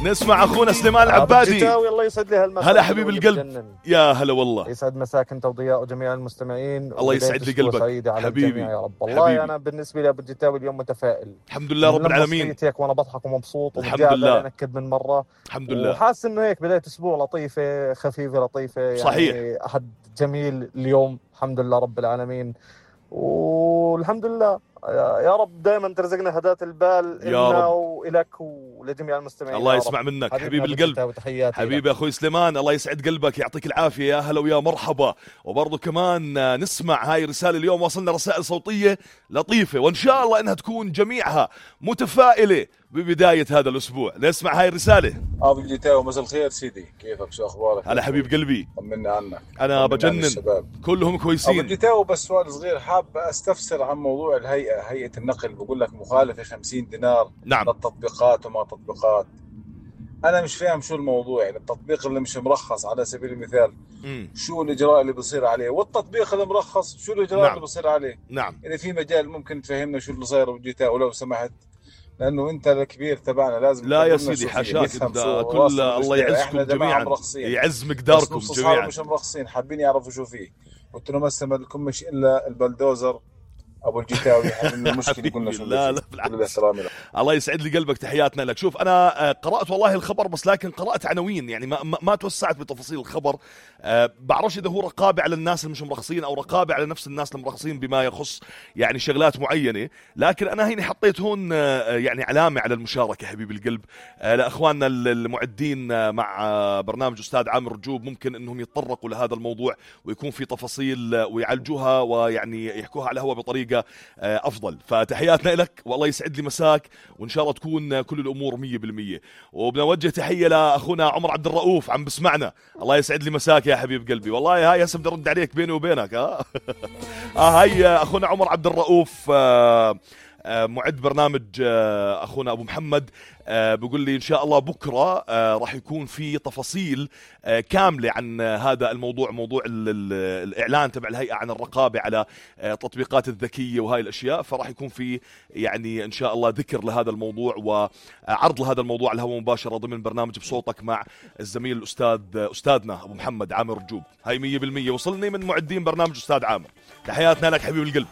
نسمع أخونا سليمان العبادي. الله يسعد لي هالمساء. هلا حبيب القلب، يا هلا والله. يسعد مساك أنت وضياء وجميع المستمعين. الله يسعد لي قلبك حبيبي يا رب. والله حبيبي. أنا بالنسبة لي أبو الجتاوي اليوم متفائل الحمد لله رب العالمين. هيك وأنا بضحك ومبسوط الحمد لله. أنكد من مرة الحمد لله. وحاسس إنه هيك بداية أسبوع لطيفة خفيفة لطيفة يعني. صحيح. أحد جميل اليوم الحمد لله رب العالمين، والحمد لله يا رب دائما ترزقنا هداة البال إلنا وإلك ولجميع المستمعين. الله يسمع منك حبيب القلب. حبيبي أخوي سليمان، الله يسعد قلبك، يعطيك العافية، يا هلا ويا مرحبا. وبرضو كمان نسمع هاي رسالة اليوم، وصلنا رسائل صوتية لطيفة وإن شاء الله إنها تكون جميعها متفائلة ببداية هذا الأسبوع. نسمع هاي الرسالة. أبو الجتاوي مساء الخير سيدي، كيفك شو أخبارك؟ هلا حبيب قلبي، طمني عنك. أنا بجنن، كلهم كويسين. أبو الجتاوي بس سؤال صغير، حاب أستفسر عن موضوع هيئة النقل، بقول لك مخالفة 50 دينار. نعم. للتطبيقات وما تطبيقات. أنا مش فاهم شو الموضوع، يعني التطبيق اللي مش مرخص على سبيل المثال شو الإجراء اللي بصير عليه، والتطبيق اللي مرخص شو الإجراء نعم. اللي بصير عليه. نعم. يعني في مجال ممكن تفهمنا شو اللي صاير أبو الجتاوي لو سمحت، لأنه أنت الكبير تبعنا لازم. لا يا سيدي حاشاك، كل الله يعزكم جميعا، يعز مقداركم جميعا. مش مرخصين، حابين يعرفوا شو فيه. قلت له ما لكم مش إلا البلدوزر أبو الجتاوي. المشكلة قلنا شو. لا الله يسعد لي قلبك، تحياتنا لك. شوف أنا قرأت والله الخبر، بس لكن قرأت عناوين يعني ما توسعت بتفاصيل الخبر. بعرفش إذا هو رقابة على الناس اللي مش مرخصين أو رقابة على نفس الناس المرخصين بما يخص يعني شغلات معينة، لكن أنا هنا حطيت هون يعني علامة على المشاركة حبيب القلب لأخواننا المعدين مع برنامج أستاذ عامر رجوب، ممكن أنهم يتطرقوا لهذا الموضوع ويكون في تفاصيل ويعالجوها ويعني يحكوها على الهواء بطريقة أفضل. فتحياتنا لك والله يسعد لي مساك، وإن شاء الله تكون كل الأمور 100%. وبنوجه تحية لأخونا عمر عبد الرؤوف عم بسمعنا، الله يسعد لي مساك يا حبيب قلبي. والله هاي هسه بدي أرد عليك بيني وبينك هاي أخونا عمر عبد الرؤوف معد برنامج أخونا أبو محمد بيقول لي إن شاء الله بكرة راح يكون في تفاصيل كاملة عن هذا الموضوع، موضوع الإعلان تبع الهيئة عن الرقابة على التطبيقات الذكية وهاي الأشياء. فراح يكون في يعني إن شاء الله ذكر لهذا الموضوع وعرض لهذا الموضوع على الهواء مباشرة ضمن برنامج بصوتك مع الزميل أستاذنا أبو محمد عامر رجوب. هاي 100% وصلني من معدين برنامج أستاذ عامر. تحياتنا لك حبيب القلب.